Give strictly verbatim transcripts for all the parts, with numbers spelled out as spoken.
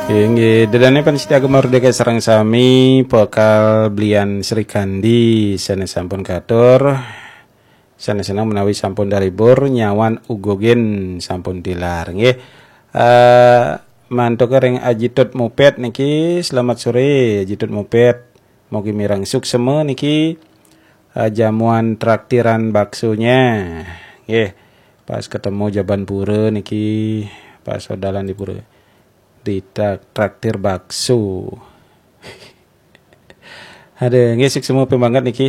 Inggih, ida dané pamiarsa Gema Merdeka sareng sami, pekal belian Sri Kandi sané sampun katur, sané seneng menawi sampun dalibur, nyawan uga gén sampun tilar, nggih. Eh, mantuk ring Aji Tut Mupet niki, selamat sore Aji Tut Mupet. Mugi mireng suksema niki, eh, jamuan traktiran baksonya. Nggih, pas ketemu Jaban Pura niki, pas sodalan di Pura. Di trak-, traktir bakso. Ada, nggih, suksema banget niki.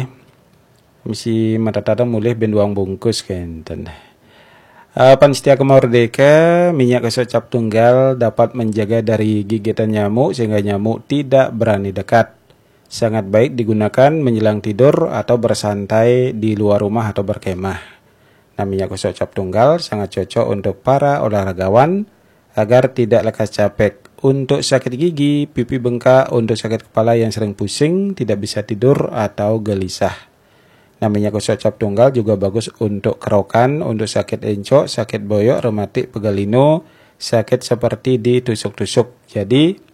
Misi mata tatang mulih ben duang bungkus kenten. Eh, pamiarsa Gema Merdeka, minyak gosok cap tunggal dapat menjaga dari gigitan nyamuk sehingga nyamuk tidak berani dekat. Sangat baik digunakan menjelang tidur atau bersantai di luar rumah atau berkemah. Nah, minyak gosok cap tunggal sangat cocok untuk para olahragawan agar tidak lekas capek. Untuk sakit gigi, pipi bengkak, untuk sakit kepala yang sering pusing, tidak bisa tidur atau gelisah. Nah, minyak gosok cap tunggal juga bagus untuk kerokan, untuk sakit encok, sakit boyok, rematik, pegal linu, sakit seperti ditusuk-tusuk. Jadi,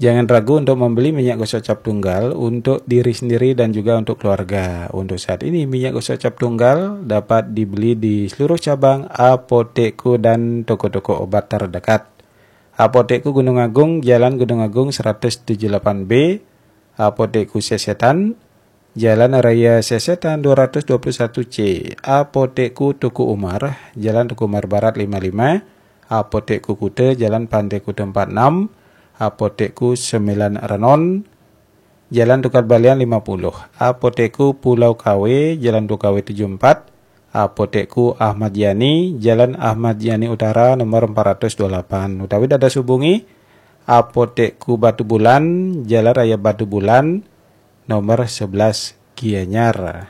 jangan ragu untuk membeli minyak gosok cap tunggal untuk diri sendiri dan juga untuk keluarga. Untuk saat ini, minyak gosok cap tunggal dapat dibeli di seluruh cabang Apotekku dan toko-toko obat terdekat. Apotekku Gunung Agung, Jalan Gunung Agung seratus tujuh delapan B, Apotekku Sesetan, Jalan Raya Sesetan dua ratus dua puluh satu C, Apotekku Tuku Umar, Jalan Tuku Umar Barat lima lima, Apotekku Kuta, Jalan Pantai Kuta empat enam, Apotekku Sembilan Renon, Jalan Tukad Balian lima puluh, Apotekku Pulau Kawe, Jalan Tuku Kawe tujuh empat, Apotekku Ahmad Yani, Jalan Ahmad Yani Utara nomor empat ratus dua puluh delapan. Utawi dados hubungi Apotekku Batu Bulan, Jalan Raya Batu Bulan nomor sebelas Gianyar.